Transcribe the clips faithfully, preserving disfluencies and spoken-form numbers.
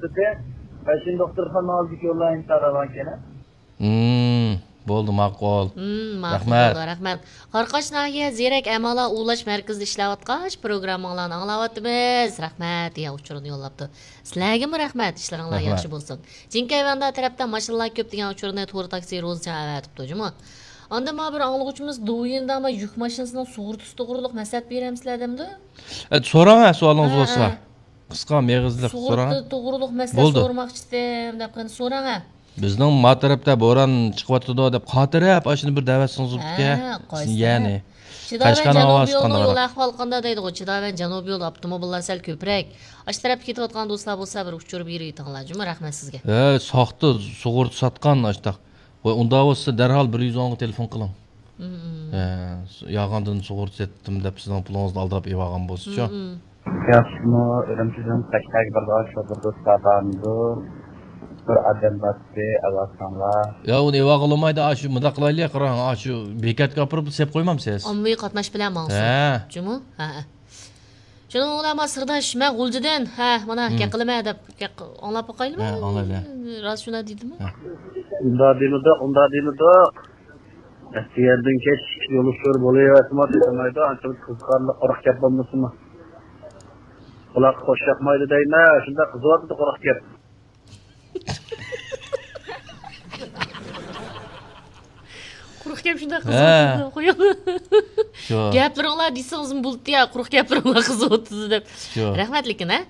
بەشىنچى دوختۇرخانا ئالدىدىكى يوللار ئىنتايىن راۋانكەن. مم، بولدى، ماقۇل. مم، ماقۇل رەھمەت. بولدى، رەھمەت. قاراقاش ناھىيە زېرەك ئەمالار ئۇۋۇلاش مەركىزىدە ئىشلەۋاتقاچ، پروگرامماڭلارنى ئاڭلاۋاتىمىز. رەھمەت دېگەن ئۇچۇرنى يوللاپتۇ. سىلەرگىمۇ رەھمەت، ئىشلىرىڭلار رەھمەت. ياخشى بولسۇن. جىنكەيۋەندار تەرەپتە ماشىنىلار كۆپ دېگەن ئۇچۇرنى تور تاكسى روزىجان ئەۋەتىپتۇ جۇمۇ. ئاندىن مانا بىر ئاڭلىغۇچىمىز دوۋيىندا مانا يۈك ماشىنىسىنىڭ سۇغۇرتىسى توغرىلىق مەسلىھەت بېرەمسىلەر دەمدۇ؟ ئە، سوراڭ، ھە، سوئالىڭىز ھە، بولسا. ھە. قىسقا، مېغىزلىق سوراڭ. سۇغۇرتا توغرۇلۇق مەسىلە بولدى. سورىماقچىدىم دەپ قېنى سوراڭ ھە. بىزنىڭ ما تەرەپتە بوران چىقىۋاتىدۇ دەپ خاتىرەپ، ئاشۇنى بىر دەۋەتسىڭىز بولىدىكەن. ھە، قايسى يەنى تەرەپ؟ چىداۋەن قەشقەرنىڭ جەنۇبىي ھاۋاسى يولىنىڭ قانداق؟ يول ئەھۋالى قانداق دەيدىغۇ؟ چىداۋەن جەنۇبىي يول ئاپتوموبىللار سەل كۆپرەك. ئاشۇ تەرەپكە كېتىۋاتقان دوستلار بولسا بىر ئۇچۇر بېرىۋېتىڭلار جۇمۇ، رەھمەت سىزگە. ھە، ساختا سۇغۇرتا ساتقان ئاشتاق. ۋاي، ئۇنداق بولسا دەرھال بىر يۈز ئونغا تېلېفون قىلىڭ. مم. ھە، يالغاندىن سۇغۇرتا سەتتىم دەپ سىزنىڭ پۇلىڭىزنى ئالدىراپ ئېلىۋالغان بولسىچۇ. مم. ياخشىمۇ، ئۈرۈمچىدىن قەشقەرگە بارىدىغان شوپۇر دوستلار بارمىدۇ؟ بىر ئادەم بارتتى، ئەۋەتسەڭلار. يا، ئۇنى ئېلىۋالغىلى بولمايدۇ، ئاشۇ مۇنداق قىلايلى، قاراڭ، ئاشۇ بېكەتكە ئاپىرىپ سېلىپ قويمامسىز؟ ئاممىۋى قاتناش بىلەن ماڭسۇن. ھە. جۇمۇ؟ ھە، ھە. شۇنىڭ بىلەن ما سىرداش، مەن غۇلجىدىن، ھە، مانا، مم. گەپ قىلىمەن دەپ، گەپ ئاڭلاپ باقايلىمۇ؟ ھە، ئاڭلايلى. راست شۇنداق دېدىمۇ؟ ھە. ئۇنداق دېمىدۇق، ئۇنداق دېمىدۇق. ئەتىگەندىن كەچ يولۇشۇر بولۇۋەرسىمۇ، دېمەيدۇ، ئانچە قىزىقارلىق قۇرۇق گەپ بولمىسىمۇ. قۇلاققا خوش ياقمايدۇ دەيمەن، شۇنداق قىزىۋاتىدۇ قۇرۇق گەپ. قۇرۇق گەپ شۇنداق ھە. قىزىۋاتىدۇ، قويۇڭ. شۇ. گەپلىرىڭلار دېسىڭىزمۇ بولىدۇ يا، قۇرۇق گەپلىرىڭلار قىزىۋاتىدۇ دەپ. شۇ. رەھمەت لېكىن، ھە؟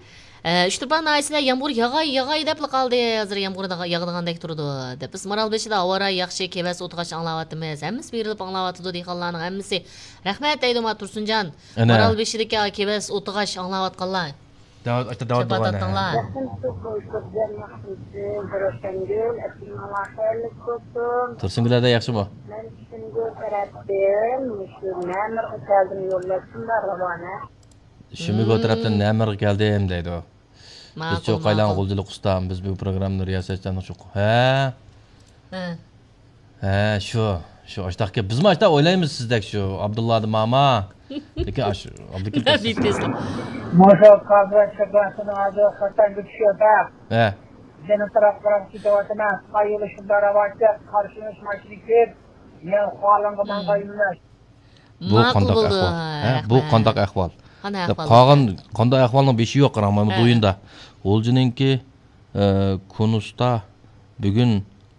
ئە، ئۈچتۇرپان ناھىيەسىدە يامغۇر ياغاي، ياغاي دەپلا قالدى. ھازىر يامغۇر داغا-، ياغىدىغاندەك تۇرىدۇ، دەپ. بىز مارالبېشىدا ھاۋا رايى ياخشى، كېۋەز ئوتىغاچ ئاڭلاۋاتىمىز. ھەممىسى بېرىلىپ ئاڭلاۋاتىدۇ، دېھقانلارنىڭ ھەممىسى. رەھمەت دەيدۇ، ما تۇرسۇنجان. ئەنە. مارالبېشىدىكى كېۋەز ئوتىغاچ ئاڭلاۋاتقانلار. داۋات، ئاشتا داۋات شاپات بولغان، ئاتتىڭلار. ھە. تۇرسۇنگۈلەردە ياخشىمۇ؟ مەن چۈشۈمگۈل تەرەپتىن مۇشۇ مەمۇرغا كەلدىم، يوللاشتىم، راۋانە. شىمىگو تەرەپتىن نەمەرغە كەلدىم دەيدۇ. بىز ماقۇل، چوقايلان ماقۇل. غۇلجىلىق ئۇستام، بىز بۇ پروگراممىنى رىياسەتچىلەرنىڭ چوقۇ. ھە؟ ھە. ھە، شۇ. شۇ ئاشتاق گەپ. بىزمۇ ئاشتاق ئويلايمىز سىزدەك شۇ. ئابدۇللا دە ماما. لېكىن ئاش-، ئابدۇكىم نەبىي تېز. مۇشۇ قازا شىباسىنىڭ ھازىر خوتەنگە چۈشۈپ، ھە. يەنە تەرەپ قاراپ كېتىۋاتىمەن. قايىلى شۇنداق راۋاجلىق، قارشىلىنىش ماشىنا كېلىپ، مەن خالىڭغا ماڭغان يۆنەلىش. بۇ ماقۇل قانداق بولدى. ئەھۋال؟ ھە، بۇ رەھمەت. قانداق ئەھۋال؟ قانداق ئەھۋال قالغان بولدى؟ قانداق ئەھۋالنىڭ بېشى يوق، قاراڭ، مانا ھە. دويۇندا. غۇلجىنىڭكى، ئە، كۇنۇستا بۈگۈن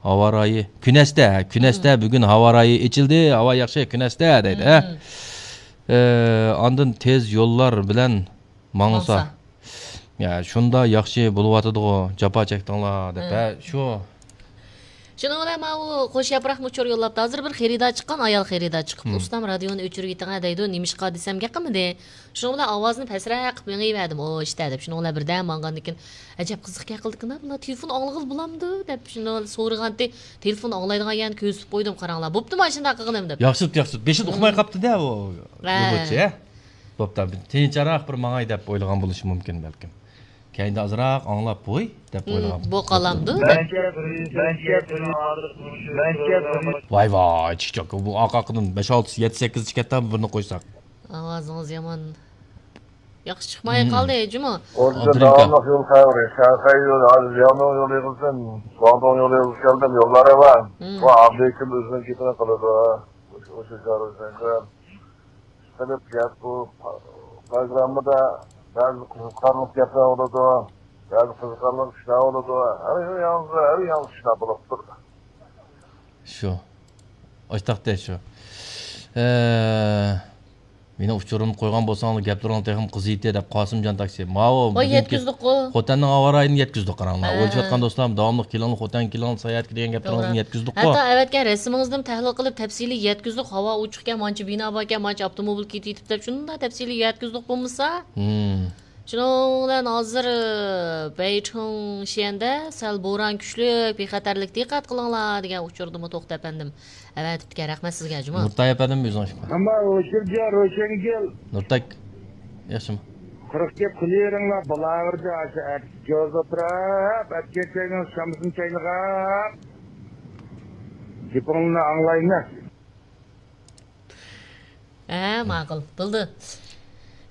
ھاۋا رايى، كۈنەستە، ھە، كۈنەستە بۈگۈن ھاۋا رايى ئېچىلدى، ھاۋا ياخشى، كۈنەستە دەيدۇ، ھە. ئە، ئاندىن تېز يوللار بىلەن ماڭسا. ماڭسا. يا، شۇنداق ياخشى بولۇۋاتىدىغۇ، جاپا چەكتىڭلار دەپ، ھە، شۇ. شۇنىڭ بىلەن ماۋۇ قوش ياپراقمۇ ئۇچۇر يوللاپتۇ. ھازىر بىر خېرىدار چىققان، ئايال خېرىدار چىقىپ، ئۇستام، رادىيونى ئۆچۈرۈۋېتىڭە دەيدۇ. نېمىشقا دېسەم، گەپ قىلمىدى. شۇنىڭ بىلەن ئاۋازنى پەسرەك قىلىپ مېڭىۋەردىم، ئوي ئىشتە دەپ. شۇنىڭ بىلەن بىردەم ماڭغاندىن كېيىن، ئەجەب قىزىق گەپ قىلدىكىن بۇلار، تېلېفون ئاڭلىغىلى بولامدۇ دەپ شۇنى سورىغانتى، تېلېفون ئاڭلايدىغان يەرنى كۆرسىتىپ قويدۇم، قاراڭلار. بوپتۇ ماشىنىدا قىلغىنىم دەپ. ياخشى، ياخشى. بېشىدا ئۇقماي قاپتۇ-دە ئۇ. ھە. بوپتۇ، ھە. بوپتۇ، تىنچراق بىر ماڭاي دەپ ئويلىغان بولۇشى مۇمكىن بەلكىم. كەينىدە ئازراق ئاڭلاپ، ۋوي دەپ ئويلىغان. بۇ قالامدۇ؟ ۋاي ۋاي، چىقچاق، بۇ ئارقا-ئارقىدىن بەش، ئالتە، يەتتە، سەككىز چىقەتتە بىرنى قويساق. ئاۋازىڭىز يامان ياخشى چىقماي قالدى، جۇمۇ. ئابدۇرېھىم ئاكا. داۋاملىق يول خەۋىرى، شەرقىي يول، ھازىر لياۋنىڭ يولى يىغىلسۇن، گۇاڭدۇڭ يولى يىغىلسا كەلدىم، يوللار ئەۋا. بۇ ئابدۇرېھىم ئۆزىنىڭ گېپىنى قىلىدۇ. ئوشۇ، ئوشۇ، قىلىپ گەپ بۇ پروگراممىدا بەزى قىزىقارلىق گەپلەر بولىدۇ، بەزى قىزىقارلىق ئىشلار بولىدۇ. ھەر ياڭزا، ھەر ياڭزا ئىشلار بولۇپ تۇرىدۇ. شۇ. ئاشتاقتە شۇ. ئە، مېنىڭ ئۇچۇرۇمنى قويغان بولساڭلار گەپلىرىڭ تېخىمۇ قىزىيتتى دەپ قاسىمجان تاكسى. ماۋۇ ۋاي، بۈگۈنكى يەتكۈزدۇققۇ. خوتەننىڭ ھاۋا رايىنى يەتكۈزدۇق قاراڭلار. ھە. ئويلىشىۋاتقان دوستلار داۋاملىق كېلىڭلار خوتەنگە كېلىڭلار ساياھەتكە دېگەن گەپلىرىڭىزنى توغرا. يەتكۈزدۇققۇ. ھەتتا ئەۋەتكەن رەسىمىڭىزنىمۇ تەھلىل قىلىپ تەپسىلىي يەتكۈزدۇق. ھاۋا ئوچۇقكەن، مانچە بىنا باركەن، مانچە ئاپتوموبىل كېتىۋېتىپ دەپ شۇنداق تەپسىلىي يەتكۈزدۇق بولمىسا. شۇنىڭ بىلەن ھازىر، ئى، بەيچۇڭشيەندە سەل بوران كۈچلۈك، بىخەتەرلىك دىققەت قىلىڭلار دېگەن ئۇچۇردىمۇ توختى ئەپەندىم ئەۋەتىپتىكەن. رەھمەت سىزگە جۇمۇ. نۇرتاي ئەپەندىم ئۆزىڭىز. ئەمما ئۇچۇر روشەنگۈل. نۇرتاي. ياخشىمۇ؟ قۇرۇق گەپ قىلىۋېرىڭلار، بالاۋېردى ئاشۇ ئەتىسى جوز ئولتۇرۇپ، ئەتىگەن چاينىڭ شامىسىنى چاينىغاپ، گېپىڭلارنى ئاڭلايمەن. ھە، ماقۇل، بولدى.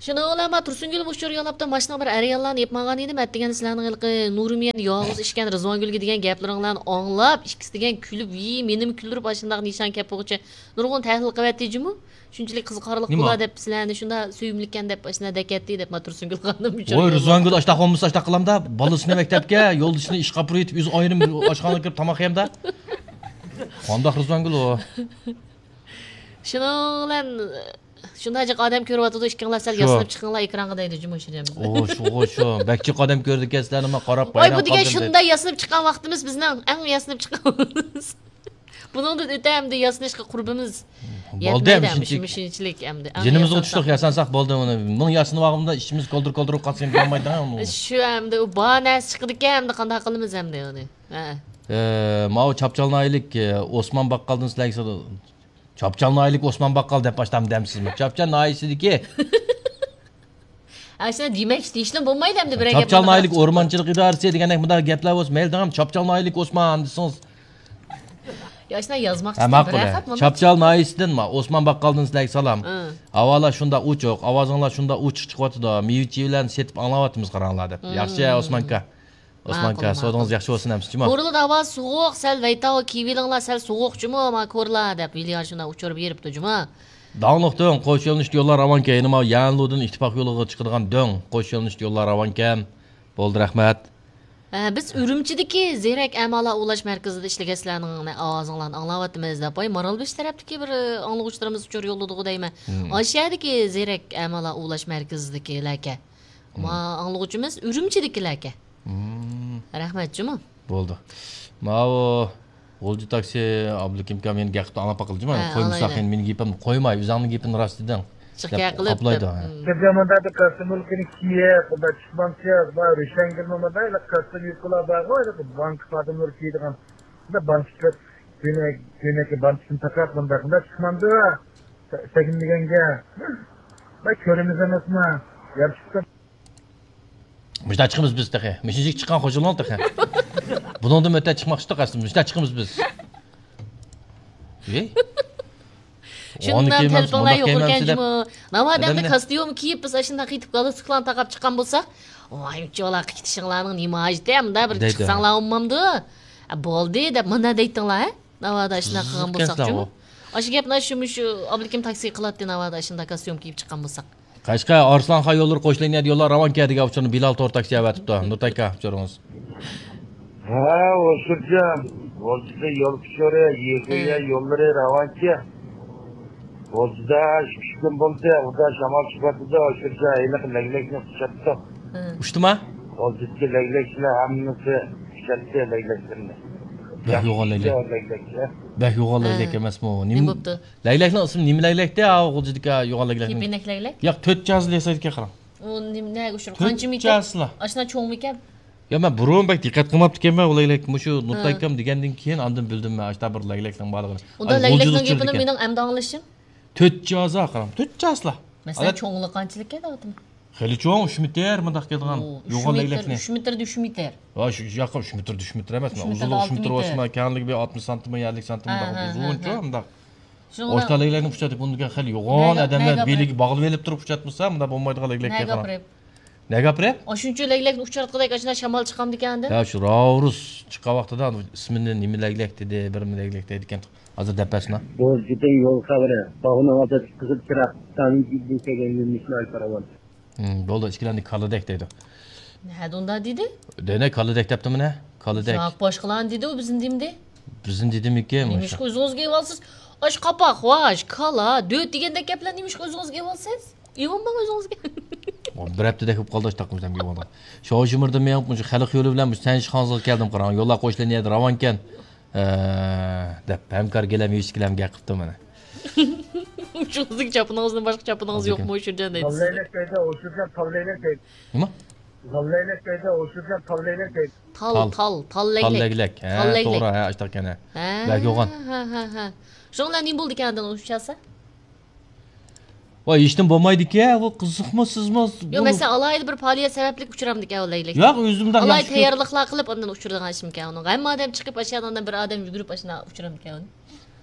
شۇنىڭ بىلەن ما تۇرسۇنگۈل ئۇچۇر يوللاپتۇ، ماشىنىڭ بىر ئەر ئاياللارنى ئېلىپ ماڭغان ئىدىم، ئەتىگەن سىلەرنىڭ ھېلىقى نۇرمىيەن يالغۇز ئىچكەن رىزۋانگۈلگە دېگەن گەپلىرىڭلارنى ئاڭلاپ، ئىككىسى دېگەن كۈلۈپ، ۋىي، مېنىمۇ كۈلدۈرۈپ، ئاشۇنداق نىشان كەپ بولغۇچە نۇرغۇن تەھلىل قىلىۋەتتى جۇمۇ. شۇنچىلىك قىزىقارلىق نېمە؟ بۇلار دەپ، سىلەرنى شۇنداق سۆيۈملۈككەن دەپ، ئاشۇنداق دەكەتتى دەپ، ما تۇرسۇنگۈل خانىم ئۇچۇر ۋوي، يوللاپتۇ. رىزۋانگۈل ئاشتاق بولمىسا ئاشتاق قىلامدا، بالىسىنى مەكتەپكە، يولدىشىنى ئىشقا ئاپىرىۋېتىپ، ئۆزى ئايرىم ئاشخانىغا كىرىپ تاماق يەمدە. قانداق رىزۋانگۈل ئۇ؟ شۇنىڭ بىلەن شۇنداق جىق ئادەم كۆرۈۋاتىدۇ، ئىككىڭلار سەل شۇ. ياسىنىپ چىقىڭلار ئېكرانغا دەيدۇ جۇمۇ شىرجان بىزگە. ئۇ شۇ، ئۇ شۇ. بەك جىق ئادەم كۆرىدىكەن سىلەرنى، ما قاراپ ۋاي، بۇ بايرام دېگەن قالدىم دەيدۇ. شۇنداق ياسىنىپ چىققان ۋاقتىمىز بىزنىڭ ئەڭ ياسىنىپ چىققان ۋاقتىمىز. بۇنىڭدىن ئۆتە ئەمدى ياسىنىشقا قۇربىمىز بولدى يەتمەيدۇ ئەمدى ئەمدى شۇنچىلىك. شۇنچىلىك ئەمدى. ئەڭ جېنىمىزغا ياسانساق. چۈشتۇق، ياسانساق بولدى. ئۇنى مىڭ ياسىنىۋالغۇمدا ئىچىمىز كولدۇر كولدۇر بولۇپ قالسا ئەمدى بولمايدۇ ئۇنى. شۇ ئەمدى ئۇ بار نەرسە چىقىدىكەن، ئەمدى قانداق قىلىمىز ئەمدى ئۇنى؟ ھە. ئە، ماۋۇ چاپچال ناھىيەلىك، ئە، ئوسمان باققالدىن سىلەرگە سودا-، چاپچال ناھىيەلىك ئوسمان باققال دەپ باشلام دەمسىزمۇ؟ چاپچال ناھىيەسىدىكى. ئاشۇنداق دېمەك، دېيىشنىمۇ بولمايدۇ ئەمدى بىرەر گەپ چاپچال ناھىيەلىك ئورمانچىلىق ئىدارىسى دېگەندەك مۇنداق گەپلەر بولسا مەيلى دەڭ، چاپچال ناھىيەلىك ئوسمان دېسىڭىز. يا، ئاشۇنداق يازماقچى ھە، ماقۇل، بىرەر ھە. خەت مانا. چاپچال ناھىيەسىدىن ما، ئوسمان باققالدىن سىلەرگە سالام. ھە. ھاۋالار شۇنداق ئوچۇق، ئاۋازىڭلار شۇنداق ئوچۇق چىقىۋاتىدۇ. مېۋىچى بىلەن سېتىپ ئاڭلاۋاتىمىز قاراڭلار دەپ. ھە. ياخشى، ئوسمان ئاكا. ئوسمان ئاكا، سودىڭىز ياخشى بولسۇن ئەمىسە جۇما. كورلىدا ھاۋا سوغۇق، سەل ۋەيتاۋ كىيىۋېلىڭلار، سەل سوغۇق جۇمۇ، ما كورلا دەپ ۋىليان شۇنداق ئۇچۇر بېرىپتۇ جۇما. داڭلىق تۆڭ، قوش يۆنىلىشلىك يوللار راۋانكەن، يەنە ماۋۇ يەنلۇدىن ئىتتىپاق يولىغا چىقىدىغان دۆڭ، قوش يۆنىلىشلىك يوللار راۋانكەن. بولدى، رەھمەت. ھە، بىز ئۈرۈمچىدىكى زېرەك ئەمالار ئۇۋۇلاش مەركىزىدە ئىشلىگەن سىلەرنىڭ ئاۋازىڭلارنى ئاڭلاۋاتىمىز دەپ، ۋاي، مارالبېشى تەرەپتىكى بىر ئاڭلىغۇچىلىرىمىز ئۇچۇر يوللىدىغۇ دەيمەن. ھىم. ئاشۇ يەردىكى زېرەك ئەمالار ئۇۋۇلاش مەركىزىدىكىلەركەن. ما ئاڭلىغۇچىمىز ئۈرۈمچىدىكىلەركەن. مم. رەھمەت جۇمۇ. بولدى. ماۋۇ غۇلجا تاكسى ئابلىكىم ئاكام يەنە گەپ قىپتۇ، ئاڭلاپ باقىلى جۇمۇ. ھە، قويمىساق ئاڭلايلى. يەنە مېنى گېپىمنى قويماي، ئۆزۈڭنىڭ گېپىنى راست دېدىڭ. جىق دەپ گەپ قىلىپ قاپلايدۇ، دەپ. ھە. مم. بىزدە مۇنداق بىر كاستيۇملۇقىنى كىيىپ، بۇنداق چىقمامسىز، بار روشەنگۈرمۇ مۇنداق، ھېلى كاستيۇم يۈكىلار بارغۇ، ھېلى بانكا خادىملىرى كىيىدىغان. مۇنداق بانكىچىلىق كۆينەك، كۆينەككە بانكىسىنى تاقاپ، مۇنداق، مۇنداق چىقمامدۇ؟ سە-، سەگىنمىگەنگە. بەك كۆرىمىز ئەمەسما؟ يارىشىپتۇ. مۇشۇنداق چىقىمىز بىز تېخى. مۇشۇنچىلىك چىققان خوشۇملۇق تېخى. بۇنىڭدىن ئۆتە چىقماقچىدۇق ئەسلى. مۇشۇنداق چىقىمىز بىز. ھېي. شۇنداق تەلىپىڭلار يۇقىرىكەن جۇمۇ. ناۋادا ئەمدى كاستيۇم كىيىپ، بىز ئاشۇنداق قېتىپ گالستۇكلارنى تاقاپ چىققان بولساق، ۋاي، ئۇچۇلار قېتىشىڭلارنىڭ نېمە ھاجىتى، ئەمدى بىر دەيدۇ. چىقساڭلار بولمامدۇ؟ بولدى دەپ مانا دەيتتىڭلار، ھە؟ ناۋادا ئاشۇنداق قىلغان بولساق جۇمۇ. ئاشۇ گەپنى شۇ، مۇشۇ ئابلىكىم تاكسى قىلاتتى، ناۋادا ئاشۇنداق كاستيۇم كىيىپ چىققان بولساق. قەشقەر، ئارسلانخان يوللىرى قوش لىنىيەدە يوللار راۋانكەن دېگەن ئۇچۇرنى بىلال تور تاكسى ئەۋەتىپتۇ. نۇرتاكا، ئۇچۇرىڭىز. ھە، ھوشۇرجان. غۇلجىدا يول ئۇچۇرى، يېقىيە ھە. يوللىرى راۋانكەن. غۇلجىدا ئىككى ئۈچ كۈن بولدى، ئۇدا شامال چىقىۋاتىدۇ، ھوشۇرجان ھېلىقى لەگلەكنى ئۇچاتتۇق. ھە. ئۇچتىما؟ غۇلجىدىكى لەگلەكچىلەر ھەممىسى ئۇچاتتى لەگلەكلىرىنى. بەك يوغان لەگلەك. لەگلەكچى. بەك يوغان ھە. لەگلەك ئەمەسمۇ؟ نېمە، نېمە بوپتۇ؟ لەگلەكنىڭ ئىسمى نېمە لەگلەك دە؟ ئاۋۇ غۇلجىدىكى يوغان لەگلەكنىڭ. كېپىنەك لەگلەك؟ ياق، تۆت جازلا ياسايدىكەن قاراڭ. ئۇ نېمە، نەگە ئۇچۇر؟ تۆت قانچە مىكەن؟ جازلا. ئاشۇنداق چوڭمىكەن؟ يا، مەن بۇرۇن بەك دىققەت قىلماپتىكەنمەن ئۇ لەگلەك. مۇشۇ ھە. نۇرتاكام دېگەندىن كېيىن ئاندىن بىلدىم مەن، ئاشۇنداق بىر لەگلەكنىڭ بارلىقىنى. ئۇندا ئاي، لەگلەكنىڭ غۇلجىدا گېپىنى ئۇچۇرىدىكەن. مېنىڭ ئەمدى ئاڭلىشىم. تۆت جازا قاراڭ، تۆت جازلا. مەسىلەن، ئادەت- چوڭلۇقى قانچىلىك ئىكەن، ئادىتىم؟ خېلى چوڭ، ئۈچ مېتىر مۇنداق كېلىدىغان ئۇ، ئۈچ يوغان مېتىر، لەگلەكنى. ئۈچ مېتىردە ئۈچ مېتىر. ھە، شۇ ياققا ئۈچ مېتىر، ئۈچ مېتىر ئەمەس، ئۈچ مېتىردە ئۇزۇنلۇقى ئۈچ ئالتە مېتىر مېتىر. بولسىمۇ، كەڭلىكى بىر ئاتمىش سانتىم، ئەللىك سانتىم ھە، مۇنداق ھە، ھە، ئۇزۇنچۇ ھە. مۇنداق. شۇڭا ئاشۇنداق لەگلەكنى ئۇچراتىپ، بۇندىكى خېلى يوغان نەگە-، ئادەملەر نەگە بېلىگە باغلىۋېلىپ تۇرۇپ ئۇچراتمىسا، مۇنداق بولمايدىغان لەگلەككە نەگە قاراڭ. ئاپىرىپ؟ نەگە ئاپىرىپ؟ ئاشۇنچە لەگلەكنى ئۇچراتقۇدەك ئاشۇنداق شامال چىقامدىكەن ئاندىن؟ ھە، شۇ راۋرۇس چىققان ۋاقتىدا ئىسمىنى نېمە لەگلەك دېدى، بىر نېمە لەگلەك دەيدىكەن. ھازىر دەپ بەرسىنا. بولجىتىڭ يول خەۋىرى. باغنىڭ ئالدىدا قىزىل چىراغ. تانىڭ كېيىدىن كەلگەن يۆنىلىشنى ئايتىپ راۋان. ھىم، بولدى، ئىككىلەندى كالىدەك دەيدۇ. نەدە ئۇنداق دېدى؟ دەينە كالىدەك دەپتىمۇ نە؟ كالىدەك. ياق، باشقىلارنى دېدى، ئۇ بىزنى دېمىدى. بىزنى دېدىمىكىن؟ نېمىشقا ئۆزىڭىزگە ئېلىۋالىسىز؟ ئاش قاپاق، ۋاش، كالا، دۆت دېگەندەك گەپلەرنى نېمىشقا ئۆزىڭىزگە ئېلىۋالىسىز؟ ئېلىۋالماڭ ئۆزىڭىزگە. بىر ھەپتىدەك بولۇپ قالدى، ئاشتاق بىزەمگە ئېلىۋالدى. شاۋشىمىردىن مېڭىپ، مۇشۇ خەلق يولى بىلەن مۇشۇ سەنشىخاڭزىغا كەلدىم، قاراڭ، يوللار قوشۇلغان يەردە راۋانكەن. ھە، دەپ ھەمكار گىلەم يۈسۈكلەم گەپ قىپتۇ مانا. شۇڭىزدىكى چاپىنىڭىزدىن باشقا چاپىنىڭىز يوقمۇ شۇرجان دەيدۇ سىزگە. نېمە؟ تال، تال، تال لەگلەك. تال، تال، تال لەگلەك. تال لەگلەك. ھە، تال لەگلەك. توغرا، ھە، ئاشتاق ئىكەن، ھە. ھە، بەك يوغان. ھە، ھە، ھە. شۇنىڭ بىلەن نېمە بولىدىكەن ئاندىن ئۇچراتسا؟ ۋاي، ھېچنېمە بولمايدىكەن، بۇ قىزىقمۇ سىزمۇ. ياق، مەسىلەن، ئالاھىدە بىر پائالىيەت سەۋەبلىك ئۇچرامدىكەن ئۇ لەگلەك. ياق، ئۆزۈمدە ئالاھىدە تەييارلىقلار قىلىپ ئاندىن ئۇچرىدىغان ئىشمىكەن ئۇنىڭ. ھەممە ئادەم چىقىپ ئاشۇ يەردىن بىر ئادەم يۈگۈرۈپ ئاشۇنداق ئۇچرامدىكەن ئۇنى.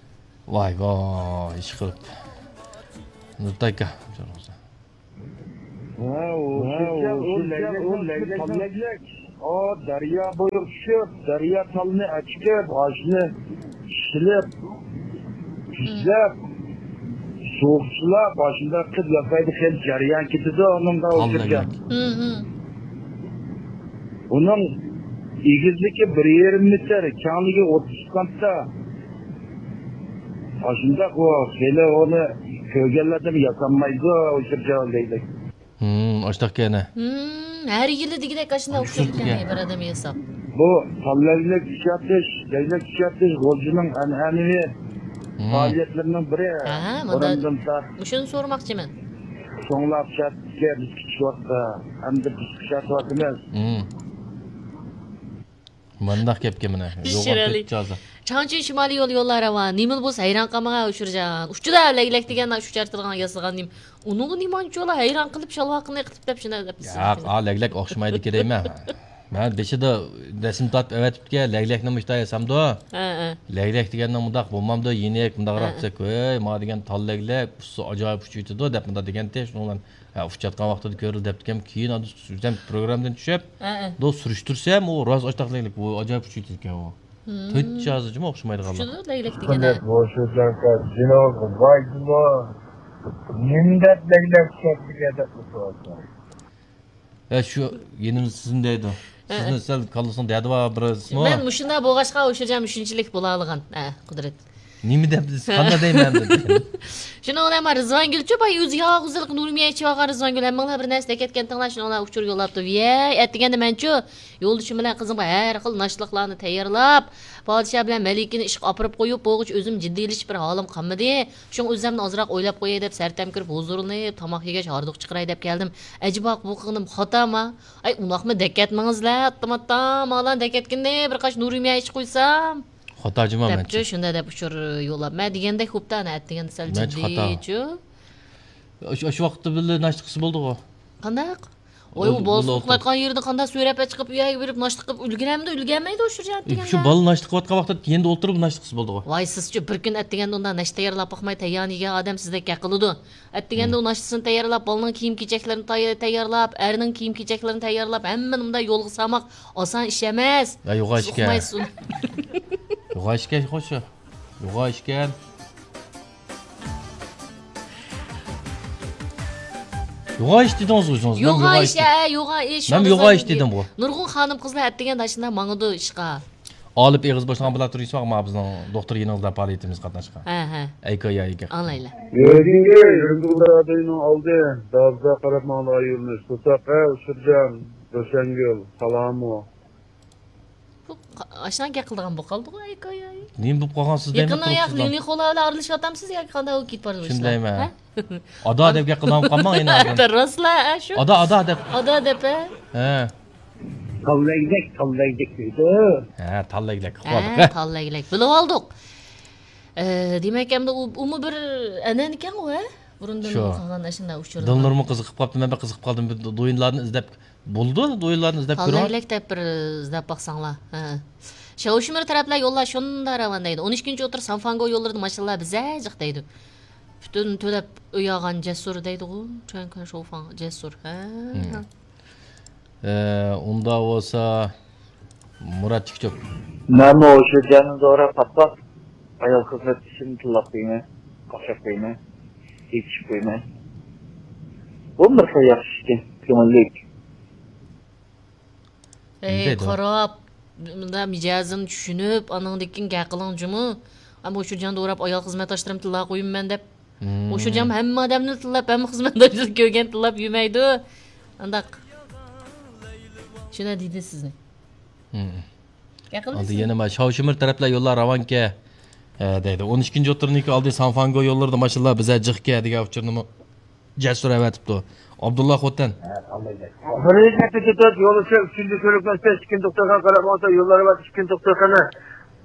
ۋاي، ۋاي، ئىشقىلىپ. نۇرتاكا. ھە، ئۇ شۇنچە، ئۇ شۇنچە، لەگلەك، ئۇ لەگلەك. ئا، دەريا بويىغا چۈشۈپ، دەريا تالنى ئەچىكىپ، ئاشنى ئىشلەپ، تۈزلەپ، سوغۇقچىلاپ، ئاشۇنداق قىلىپ ياسايدۇ. خېلى جەريان كېتىدۇ ئۇنىڭغا تال ئوخشىغان. لەگلەك. ھە، ھە. ئۇنىڭ ئېگىزلىكى بىر يېرىم مېتىر، كەڭلىكى ئوتتۇز سانتا. ئاشۇنداق ئۇ، خېلى ئۇنى كۆرگەنلەردىن ياسانمايدۇ، ئوشۇرجان لەگلەك. ھىم، ئاشتاق كەنە. ھىم، ھەر يىلى دېگۈدەك ئاشۇنداق ئۇچۇپ كەنە بىر ئادەم ياساپ. بۇ تال لەگلەك ئىشلىتىش، لەگلەك ئىشلىتىش غۇلجىنىڭ ئەنئەنىۋى ھىم. پائالىيەتلىرىنىڭ بىرى. ھە، مۇنداق. بۇرۇندىن تارتىپ. مۇشۇنى سورىماقچىمەن. چوڭلار پىشاتقا بىز كىچىك ۋاقىتتا، ئەمدى بىز پىشاتىۋاتىمىز. ھىم. مانداق گەپكە مانا. يوغان تۆت جازا. چاڭچىن شىمالىي يول يوللار راۋان. نېمىلا بولسا ھەيران قالمىغان ئۇشۇرجان. ئۇچىدا لەگلەك دېگەن ئۇشۇ چارتىدىغان ياسىغان نېمە. ئۇنىڭغا نېمانچىلا ھەيران قېلىپ شالۋاقىنى قېتىپ دەپ شۇنداق دەپ. ياق، ئا، لەگلەك ئوخشىمايدىكەن دەيمەن. مەن بېشىدا رەسىم تارتىپ ئەۋەتىپتىكەن، لەگلەكنى مۇشۇنداق ياسامدۇ؟ ھە، ھە. لەگلەك دېگەننىڭ مۇنداق بولمامدۇ، يېنىك، مۇنداقراق دېسەك، ھەي، ما دېگەن تال لەگلەك، ئۇسسۇ ئاجايىپ ئۇچۇۋېتىدۇ دەپ مۇنداق دېگەنتى، شۇنىڭ بىلەن ھە، ئۇچۇۋاتقان ۋاقتىدا كۆرۈلدى دەپتىكەن، كېيىن ئاندىن سۈرسەم، پروگراممىدىن چۈشۈپ، ھە، ھە. دو سۈرۈشتۈرسەم، ئۇ راست ئاشتاق لەگلەك، ئۇ ئاجايىپ ئۇچۇۋېتىدىكەن ئۇ. ھىم. تۆت جازىجىمۇ ئوخشىمايدىغانلار. ئۇچىدۇ لەگلەك دېگەندە. بۇ شۇ جايدا جىنىۋ ۋايدىمۇ، نېمە دەپ لەگلەك چۈشەتمىگەن دەپ ئولتۇرۇۋاتىدۇ. ھە، شۇ يېنىمىزدا سىزنى دەيدۇ. ھە. سىزنى سەل كاللىسىنىڭ دەردى بار بىرسىمۇ؟ مەن مۇشۇنداق بولغاچقا ئۇشۇرجان شۇنچىلىك بولاالىغان. ھە، قۇدرەت. نېمە دەپ، قانداق دەيمەن دېدى. شۇنىڭ بىلەن مانا رىزۋانگۈلچۇ، باي ئۆزى ياغ گۈزەل نۇرمىيە ئىچىۋالغان رىزۋانگۈل، ھەممىڭلار بىر نەرسە دەكەتكەنتىڭلار، شۇنىڭ بىلەن ئۇچۇر يوللاپتۇ. ۋىيەي، ئەتىگەندە مەنچۇ، يولدىشىم بىلەن قىزىم ھەر خىل ناشتىلىقلارنى تەييارلاپ، پادىشاھ بىلەن مەلىكىنى ئىشقا ئاپىرىپ قويۇپ بولغۇچە ئۆزۈم جىددىيلىشىش بىر ھالىم قالمىدى. شۇڭا ئۆزۈمنى ئازراق ئويلاپ قوياي دەپ سەرتەم كىرىپ ھۇزۇرلىنىپ، تاماق يېگەچ ھاردۇق چىقىراي دەپ كەلدىم. ئەجەبا بۇ قىلغىنىم خاتامۇ؟ ئەي، ئۇنداقمۇ دەكەتمىڭىزلە، ئاتتىم ئاتتام، مالان دەكەتكىندە بىر قاچ نۇرمىيە ئىچ قويسام. خاتا جۇما دەپچۇ، مەنچە. شۇنداق دەپ ئۇچۇر يوللاپ. مەن دېگەندەك خوپتا، ئەنە ئەتىگەندە سەل مەنچە خاتا. جىددىيچۇ. ئاشۇ، ئاشۇ ۋاقىتتا بىللە ناشتا قىلسا بولدۇغۇ. قانداق؟ ۋاي، ئۇ، ئۇ بالىسى ئۇخلاپ ياتقان يېرىدە قانداق سۆرەپ چىقىپ، ئۆيگە بېرىپ ناشتا قىلىپ ئۈلگۈرەمدۇ، ئۈلگۈرمەيدۇ ئۇشۇرجان ئەتىگەندە. شۇ بالا ناشتا قىلىۋاتقان ۋاقىتتا يېنىدا ئولتۇرۇپ ناشتا قىلسا بولىدىغۇ. ۋاي، سىزچۇ بىر كۈن ئەتىگەندە ئۇنداق ناشتا تەييارلاپ باقماي تەييارنى يېگەن ئادەم سىزدەك گەپ قىلىدۇ. ئەتىگەندە ئۇ ناشتىسىنى تەييارلاپ، بالىنىڭ كىيىم-كېچەكلىرىنى تەي-، تەييارلاپ، ئەرنىڭ كىيىم-كېچەكلىرىنى تەييارلاپ، ھەممىنى مۇنداق يولغا سالماق ئاسان ئىش ئەمەس. ھە، يوغان ئىشكەن. سىز ئۇقمايسىز ئۇنى. يوغان ئىشكەن، خوش. يوغان ئىشكەن. يوغان ئىش دېدىڭىز ئۆزىڭىز. مەن يوغان ئىش، ھە، يوغان ئىش. مەن يوغان ئىش دېدىمغۇ. نۇرغۇن خانىم-قىزلار ئەتىگەندە ئاشۇنداق ماڭىدۇ ئىشقا. ئالىپ ئېغىز باشلىغان بىلەن تۇرۇشساق، مانا بىزنىڭ دوختۇر يېنىڭىزدا پائالىيىتىمىز قاتناشقان. ھە، ھە. ئەيكايايىكە. ئاڭلايلى. يۈرگىنگە يۈرگۈ رادىيونىڭ ئالدى، دازدا قاراپ ماڭىدىغان يۆنىلىش. بۇساق، ھە، ئۇشۇرجان، روشەنگۈل، سالامۇ. بۇ قا-، ئاشۇنداق گەپ قىلىدىغان بولۇپ قالدىغۇ، ئەيكاياي. نېمە بولۇپ قالغان سىز دەيمەن، يېقىندا ياق، لىلىخولا بىلەن ئارىلىشىۋاتامسىز ياكى قانداق بولۇپ كېتىپ بارىدۇ ئىشلار؟ شۇندايمەن. ھە؟ ئادا دەپ گەپ قىلىدىغان بولۇپ قالماڭ يەنە. راستلا، ھە، شۇ. ئادا، ئادا دەپ. ئادا دەپ، ھە؟ ھە. تاللايدەك، تاللايدەك دەيدۇ. ھە، تاللايدەك. ھە، تاللايدەك. بىلىۋالدۇق. ئە، دېمەك، ئەمدى ئۇ، ئۇمۇ بىر ئەنئەنىكەنغۇ، ھە؟ بۇرۇندىن شۇ. قالغان ئاشۇنداق ئۇچۇرلار. دىلنۇرمۇ قىزىقىپ قاپتۇ، مەن بەك قىزىقىپ قالدىم. بىر دو-، دوينلارنى ئىزدەپ، بولىدۇ، دوينلارنى ئىزدەپ كۆرۈڭ. تاللايدەك دەپ بىر ئىزدەپ باقساڭلار. ھە. شاۋشىمىر تەرەپلەر يوللار شۇنداق راۋان دەيدۇ. ئون ئىككىنچى ئوتتۇرا سانفانگو يوللىرىدا ماشىنىلار بىزە جىق دەيدۇ. پۈتۈن تۆلەپ ئۆي ئالغان جەسۇر دەيدىغۇ. چۈەنكى شوفاڭ جەسۇر. ھە. ھە. ئە، ئۇنداق بولسا، مۇرات تىكچوك. مەنمۇ ئوشۇرجاننى دوراپ قاپقاپ، ئايال خىزمەتچىسىنى تىللاپ قويىمەن، قوشاپ قويىمەن، يېتىشىپ قويىمەن. بۇ بىر خىل ياخشى ئىكەن، كۆڭۈللۈك. ئەي، قاراپ، مۇنداق مىجەزىنى چۈشىنىپ، ئانىڭدىن كېيىن گەپ قىلىڭ جۇمۇ. ئەمما ئوشۇرجاننى دوراپ ئايال خىزمەتداشلىرىمنى تىللاپ قويىمەن دەپ. ھىم. ئوشۇرجان ھەممە ئادەمنى تىللاپ، ھەممە خىزمەتداشلىرىنى كۆرگەن تىللاپ يۈرمەيدۇ. ئانداق. شۇنداق دېدى سىزنى. ھىم. ئاندىن يەنە مانا شاۋشىمىر تەرەپلەر يوللار راۋانكە، ئە، دەيدۇ. ئون ئىككىنچى ئوتتۇرىنىڭكى ئالدى سانفانگو يوللىرىدا ماشىنىلار بىزە جىقكە دېگەن ئۇچۇرنىمۇ جەسۇر ئەۋەتىپتۇ. ئابدۇللا خوتەن. بىرىنچى كەتتى كېتىپ، يولدىشى ئۈچىنچى كۆرۈكمەستە ئىككىنچى دوختۇرخانا قاراپ ماڭسا، يوللار ئەۋەتىپ ئىككىنچى دوختۇرخانا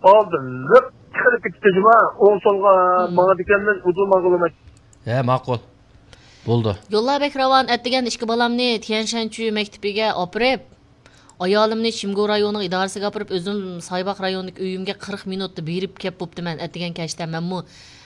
ئالدىنلىق چىقىرىپ كېتىپتۇ جۇما. ئوڭ سولغا ماڭىدىكەنمىز، ئۇدۇل ماڭغىلى. ھە، ماقۇل. بولدى. يوللار بەك راۋان، ئەتىگەن ئىككى بالامنى تيەنشەنچۈ مەكتىپىگە ئاپىرىپ، ئايالىمنى شىمگو رايونىنىڭ ئىدارىسىگە ئاپىرىپ، ئۆزۈم سايباغ رايونىدىكى ئۆيۈمگە قىرىق مىنۇتتا بېرىپ كەپ بوپتىمەن. ئەتىگەن كەچتە مەنمۇ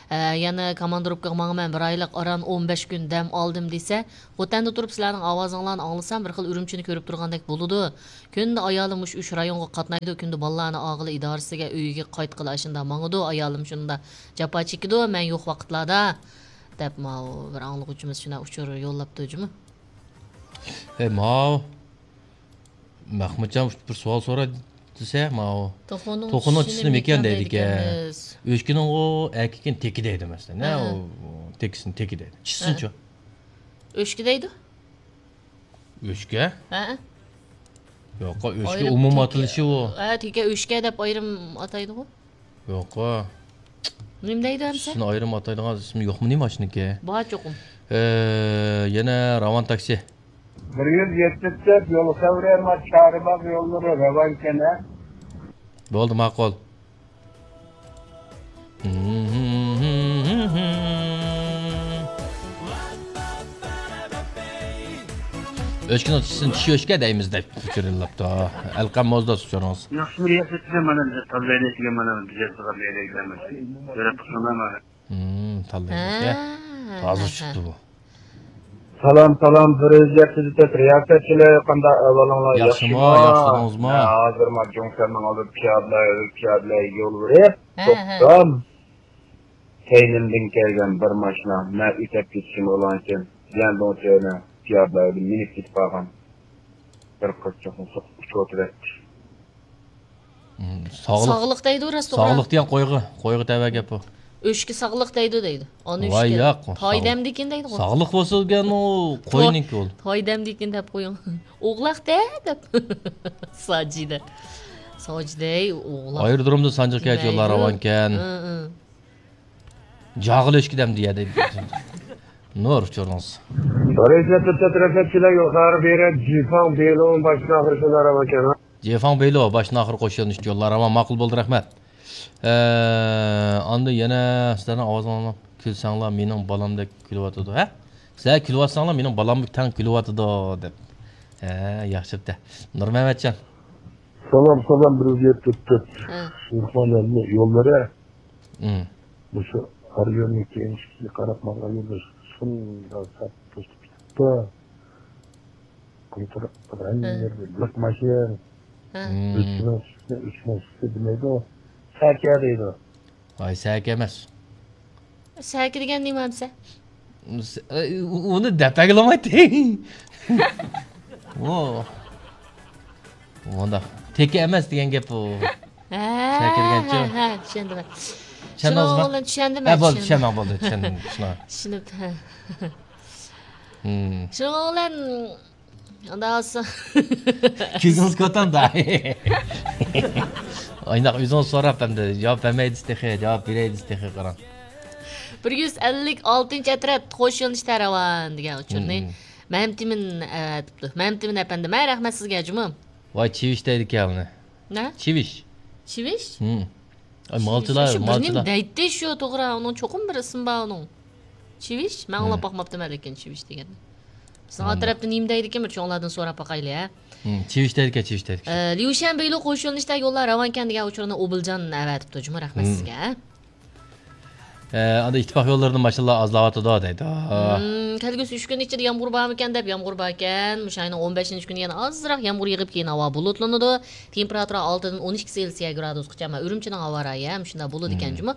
ھە، يەنە كاماندىروپكىغا ماڭىمەن، بىر ئايلىق ئاران ئون بەش كۈن دەم ئالدىم دېسە، خوتەندە تۇرۇپ سىلەرنىڭ ئاۋازىڭلارنى ئاڭلىسام، بىر خىل ئۈرۈمچىنى كۆرۈپ تۇرغاندەك بولىدۇ. كۈندە ئايالىم مۇشۇ ئۈچ رايونغا قاتنايدۇ، كۈندە بالىلارنى ئالغىلى ئىدارىسىگە، ئۆيىگە قايتقىلى ئاشۇنداق ماڭىدۇ، ئايالىم شۇنداق جاپا چېكىدۇ، مەن يوق ۋاقىتلاردا، دەپ ماۋۇ بىر ئاڭلىغۇچىمىز شۇنداق ئۇچۇر يوللاپتۇ جۇمۇ. ھەي، ماۋۇ. مەخمۇتجان بىر سوئال سوراي دېسە، ماۋۇ. توخۇنىڭ توخۇنىڭ چىشى چىشى نېمىكەن نېمىكەن دەيدىكەن. دەيدىكەنمىز. ئۆچكىنىڭغۇ ئەركىكىنى تېكى دەيدۇ، مەسىلەن. ھە، ھە. ئۇ تېكىسىنى تېكى دەيدۇ. چىشىسىنىچۇ؟ ھە. ئۆچكە دەيدۇ. ئۆچكە؟ ھە. يوق، ئۆچكە ئايرىم ئومۇم تېكى. ئاتىلىشى ئۇ. ھە، تېكە ئۆچكە دەپ ئايرىم ئاتايدىغۇ. يوق. نېمە دەيدۇ ئەمسە؟ سىزنى ئايرىم ئاتايدىغان ئىسمى يوقمۇ نېمە ئاشۇنىڭكى؟ بار چوقۇم. ئە، يەنە راۋان تاكسى. بىر يۈز يەتمىش تۆت يول خەۋىرى، ما چارباغ يوللىرى راۋانكەن ھە. بولدى، ماقۇل. ئۆچكىنىڭ چىشىسىنى چىشى ئۆچكە دەيمىز دەپ ئۇچۇر يوللاپتۇ. ئەلقەم موزداس ئۇچۇرىڭىز. ياخشىمۇ ياخشى، مانا تاللاينى دېگەن مانا بىز يازغان يەرگە مانا. يۆلەپ تۇرسۇن مانا. ھىم، تاللاينى. ھە، تازا ھە، چىقتى ھە. بۇ. سالام، سالام، بىر يۈز يەتتە يۈز تۆت رىياسەتچىلەر، قانداق ئەھۋالىڭلار؟ ياخشىمۇ، ياخشىمۇ؟ ياخشىلىقىڭىزمۇ؟ ھە، ھازىر ما جۇڭسەننىڭ ئالدىدا پىيادىلەر، پىيادىلەر يول بېرىپ، ھە، ھە. توختام. كەينىمدىن كەلگەن بىر ماشىنا، مەن ئۆتۈپ كېتىشىم ئۇلانچە، لەندۇڭ تۆنە پىيادىلەردىن مىنىپ كېتىپ قالغان بىر قىزچاقنى سوقۇپ ئۇچۇرتۇۋەتتى. ھىم، ساغلىق. ساغلىق دەيدۇ راست توغرا. ساغلىق دېگەن قويغا، قويغا تەۋە گەپ بۇ. ئۆچكە ساغلىق دەيدۇ دەيدۇ. ئانا ۋاي ئۆچكە. ياق، پاي ساغلىق. دەمدىكىن دەيدىغۇ. ساغلىق بولسا دېگەن ئۇ قوينىڭكى ئۇ. پاي دەمدىكىن دەپ قويۇڭ. ئوغلاق دە دەپ. ساجىدە. ساجىدەي ئوغلاق. ئايرودرومدا سانجىق كەچ يوللار دېمەيدۇ. راۋانكەن. ھە، ھە. جاغىل ئۆچكە دەمدى يە دەيدۇ. نۇر ئۇچۇرىڭىز. رەھمەت، تەترەتەتچىلەر يوقار بېرە، جىفاڭ بېلوڭ باشتىن ئاخىر شۇلار ئەمەكەن. جىفاڭ بېلو باشتىن ئاخىر قوشۇلۇش يوللار راۋان ماقۇل بولدى، رەھمەت. ئە، ئاندىن يەنە سىلەرنىڭ ئاۋازىڭلار كۈلسەڭلار مېنىڭ بالامدەك كۈلۈۋاتىدۇ، ھە؟ سىلەر كۈلۈۋاتساڭلار مېنىڭ بالامغا تەڭ كۈلۈۋاتىدۇ دەپ. ھە، ياخشى بىتە. نۇرمەمەتجان. سالام، سالام، بىر يۈز يەتتە تۆت. ھە. شېرىخمۇھەممەتنىڭ يوللىرى. ھىم. مۇشۇ ئارىيوننىڭ كېيىن ئىككىسىگە قاراپ ماڭغان يولدا شۇنداق سەت توشۇپ كېتىپتۇ. كونتر-، ھەممە ھە. يەردە لىق ماشىنا. ھە. ھىم. ئۆچكىنىڭ سۈتىنى ئۆچكىنىڭ سۈتى دېمەيدۇ. سەكە دەيدۇ. ۋاي، سەكە ئەمەس. سەكە دېگەن نېمە ئەمسە؟ ئۇنى دەپ بەرگىلى بولمايتتى. ئۇ. ئۇنداق. تېكە ئەمەس دېگەن گەپ ئۇ. ھە، سەكە دېگەنچۇ؟ ھە، ھە، چۈشەندىم. چۈشەندىڭىزمۇ؟ شۇنىڭ بىلەن چۈشەندىم، ھە، بولدى، چۈشەندىم. چۈشەندىم، چۈشەندىم، چۈشەندىم. چۈشىنىپ، ھە. ھىم. شۇنىڭ بىلەن ئۇنداق بولسا. كۆزىڭىز كۆتەمدۇ؟ ئاينداق ئۆزىڭىز سوراپ ئەمدى جاۋاب بەرمەي دېسە تېخى، جاۋاب بېرەي دېسە تېخى قاراڭ. بىر يۈز ئەللىك ئالتىنچى ئەترەت قوش يۆنىلىشتە راۋان دېگەن ئۇچۇرنى. ھىم. مەمتىمىن ئەۋەتىپتۇ. مەمتىمىن ئەپەندىم، ھە، رەھمەت سىزگە جۇمۇ. ۋاي، چىۋىش دەيدىكەن ئۇنى. نە؟ چىۋىش. چىۋىش؟ ھىم. ئاي، مالچىلار، شۇ بىر نېمە مالچىلار. دەيتتى شۇ، توغرا، ئۇنىڭ چوقۇم بىر ئىسمى بار ئۇنىڭ. چىۋىش؟ مەن ئاڭلاپ ھىم. باقماپتىمەن لېكىن چىۋىش دېگەننى. بىزنىڭ ئات تەرەپتە نېمە دەيدىكىن، بىر چوڭلاردىن سوراپ باقايلى، ھە؟ ھىم، چىۋىش دەيدىكەن، چىۋىش دەيدىكەن. ئە، ليۇشەن بېيلۇ قوش يۆنىلىشتە يوللار راۋانكەن دېگەن ئۇچۇرنى ئوبۇلجان ئەۋەتىپتۇ جۇمۇ، رەھمەت ھىم. سىزگە. ئە، ئاندىن ئىتتىپاق يوللىرىدا ماشىنىلار ئازلاۋاتىدۇ دەيدۇ. ھىم، كەلگۈسى ئۈچ كۈن ئىچىدە يامغۇر بارمىكەن دەپ، يامغۇر باركەن. مۇشۇ ئاينىڭ ئون بەشىنچى كۈنى يەنە ئازراق يامغۇر يېغىپ، كېيىن ھاۋا بۇلۇتلىنىدۇ. تېمپېراتۇرا ئالتىدىن ئون ئىككى سېلسىيە گرادۇسقىچە، مانا ئۈرۈمچىنىڭ ھاۋا رايى ھەم شۇنداق بولىدىكەن جۇمۇ.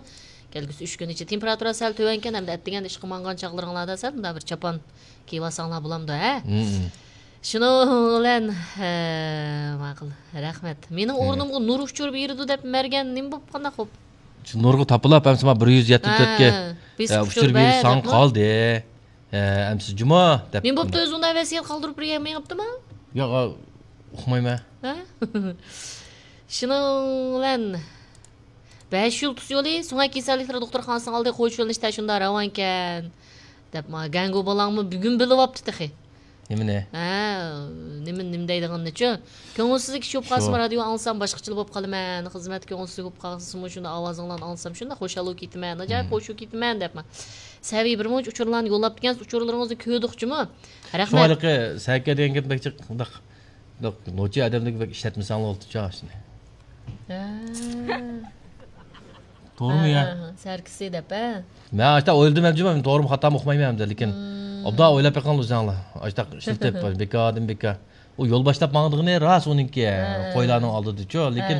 كەلگۈسى ئۈچ كۈن ئىچىدە تېمپېراتۇرا سەل تۆۋەنكەن، ئەمدى ئەتىگەندە ئىشقا ماڭغان چاغلىرىڭلاردا سەل مۇنداق بىر چاپان كىيىۋالساڭلار بولامدۇ، ھە؟ شۇنىڭ بىلەن، ھە، ماقۇل، رەھمەت. مېنىڭ ئورنۇمغا نۇر ئۇچۇر بېرىدۇ دەپ مەرگەن نېمە بوپ، قانداق بوپ؟ شۇ نۇرغا تاپىلاپ، ئەمسە ما بىر يۈز يەتتە تۆتكە، ھە، بېسىپ ئە، ئۇچۇر ئۇچۇر بېرىش بەر ساڭا دەپمۇ؟ قالدى. ئە، ئەمسە جۇما دەپ. نېمە بوپتۇ، ئۆزى ئۇنداق ۋەسىيەت قالدۇرۇپ بىر يەرگە مېڭىپتىما؟ ياق، ئۇقمايمەن. ھە؟ شۇنىڭ بىلەن بەش يۇلتۇز يولى سۆڭەك كېسەللىكلىرى دوختۇرخانىسىنىڭ ئالدى قوش يۆنىلىشتە شۇنداق راۋانكەن دەپ، ما گەڭگۇ بالاڭمۇ بۈگۈن بىلىۋاپتۇ تېخى. نېمىنى؟ ھە، نېمە، نېمە دەيدىغىنىنىچۇ؟ كۆڭۈلسىزلىك چۈشۈپ قالسىمۇ، شۇ. رادىيو ئاڭلىسام باشقىچىلا بولۇپ قالىمەن، خىزمەتتە كۆڭۈلسىزلىك بولۇپ قالسىمۇ، شۇنداق ئاۋازىڭلارنى ئاڭلىسام شۇنداق خۇشال بولۇپ كېتىمەن، ئاجايىپ مم. خۇش بولۇپ كېتىمەن دەپمۇ. سەۋىي بىر مۇنچە ئۇچۇرلارنى يوللاپ كەلگەنسىز، ئۇچۇرلىرىڭىزنى كۆردۇقچىمۇ؟ رەھمەت. شۇڭا ھېلىقى سەكە دېگەن گەپ بەك جىق، مۇنداق، مۇنداق نوچى ئادەملەرگە بەك ئىشلەتمىسەڭلار بولىدۇ شۇنى. ھە. توغرىمۇ يا؟ سەركىسى دەپ ھە. مەن ئاشتا ئويلىدىم ئەمجىما، توغرىمۇ خاتامۇ ئۇقمايمەن ئەمدى، لېكىن ئوبدان ئويلاپ بېقىڭلار ئۆزۈڭلار. ئاشتا ئىشلىتىپ بىكاردىن بىكار. ئۇ يول باشلاپ ماڭىدىغىنى راست ئۇنىڭكى، قويلارنىڭ ئالدىدىچۇ، لېكىن